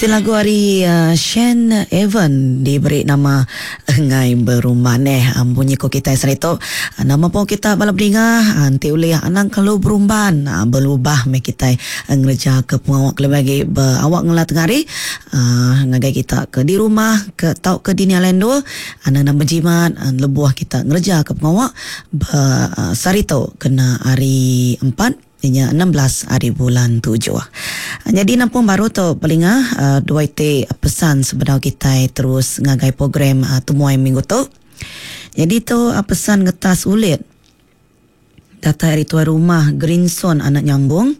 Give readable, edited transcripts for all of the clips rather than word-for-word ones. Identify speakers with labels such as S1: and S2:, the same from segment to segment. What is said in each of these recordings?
S1: Ti lagu ari Shane Evan diberi nama Enggai Berumban eh. Munyi ko kitai saritu nama pun kita bala bedinga enti ulih anang kelalu berumban belubah meh kitai ngereja ke pengawa kelebih agi ba awak ngela tengah hari ngagai kita ke di rumah ke tauka dini alai endur anang enda bejimat lebuh kita ngereja ke pengawa ba saritu kena hari empat. Iya nya 16 ari bulan tujuh. Nyadi nampung baru tu pelinga dua iti pesan sebedau kitai terus ngagai program temuai minggu tu. Nyadi tu pesan ngetas ulit datai ari tuai rumah Grinson anak Nyambung.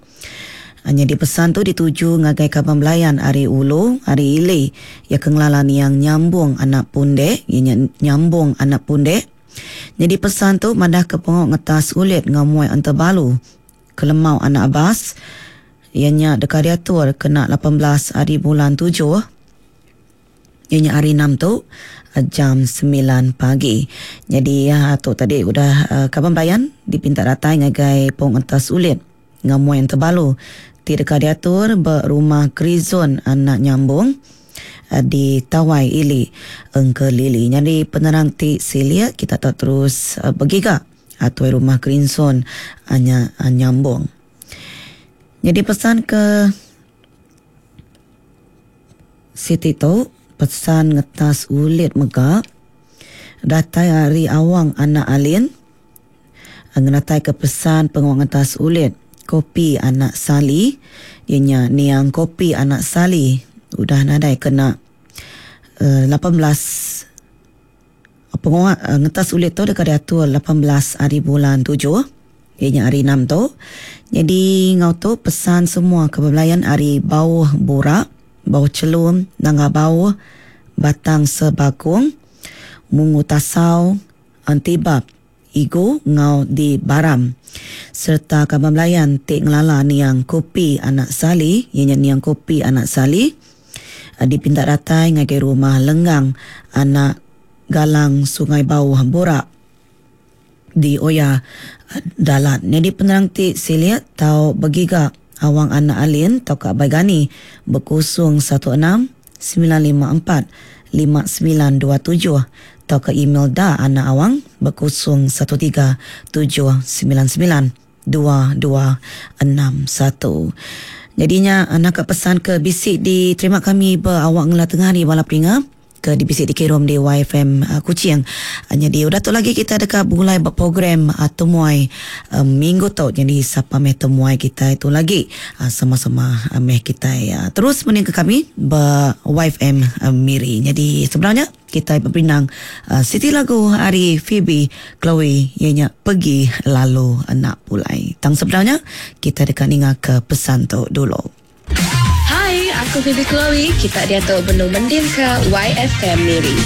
S1: Nyadi pesan tu dituju ngagai kaban belayan ari ulu ari ili iya ke ngelala niang Nyambung anak Pundek iya nya Nyambung anak Pundek. Nyadi pesan tu madahka pengawa ngetas ulit enggau muai entebalu ke lemau anak Abbas iya nya deka diatur kena 18 hari bulan tujuh iya nya hari enam tu jam semilan pagi. Nyadi tu tadi udah kaban belayan dipinta datai ngagai pung entas ulit enggau muai entebalu ti deka diatur ba Rumah Krizon Anak Nyambung. Di Tawai Ili Engkelili. Nyadi penerang ti silik kita tau terus begiga tuai rumah Grinson nya nyambung. Nyadi pesan ke siti tu pesan ngetas ulit mega datai ari Awang anak Alin ngenataika pesan pengawa ngetas ulit kopi anak Sali iya nya niang kopi anak Sali udah nadai kena 18 pengawa ngetas ulit tu deka diatur 18 hari bulan tujuh iya nya hari enam tu. Nyadi enggau tu pesan semua ke bebelayan ari Bauh Burak, Bauh Chelum, Nanga Bauh, Batang Sebakung, Mungu Tasau, Antibab, Igu enggau di Baram. Sereta kaban belayan ti ngelala niang Kopi anak Sali, iya nya niang Kopi anak Sali, dipinta datai ngagai rumah Lenggang anak Galang Sungai Bauh Burak di Oya Dalat. Nyadi penerang ti silik tau begiga Awang anak Alin tauka Abai Gani bekusung 16 954 5927 tauka email da anak awang ba 013 799 2261. Nyadi nya naka pesan ke bisi diterima kami ba awak ngela tengah hari bala peninga ke dibisi dikirum di YFM Kuching. Nyadi udah tu lagi kita deka begulai ba program temuai minggu tu. Nyadi sapa meh temuai kitai tu lagi sama-sama meh kitai terus mendingka kami ba YFM Miri. Nyadi sebedau nya kitai beperindang siti lagu ari Phoebe Chloe iya nya Pergi Lalu Enda Pulai. Tang sebedau nya kitai deka ningaka pesan tu dulu.
S2: Hai, aku Phoebe Chloe. Kita diatu benung mendingka YFM Miri.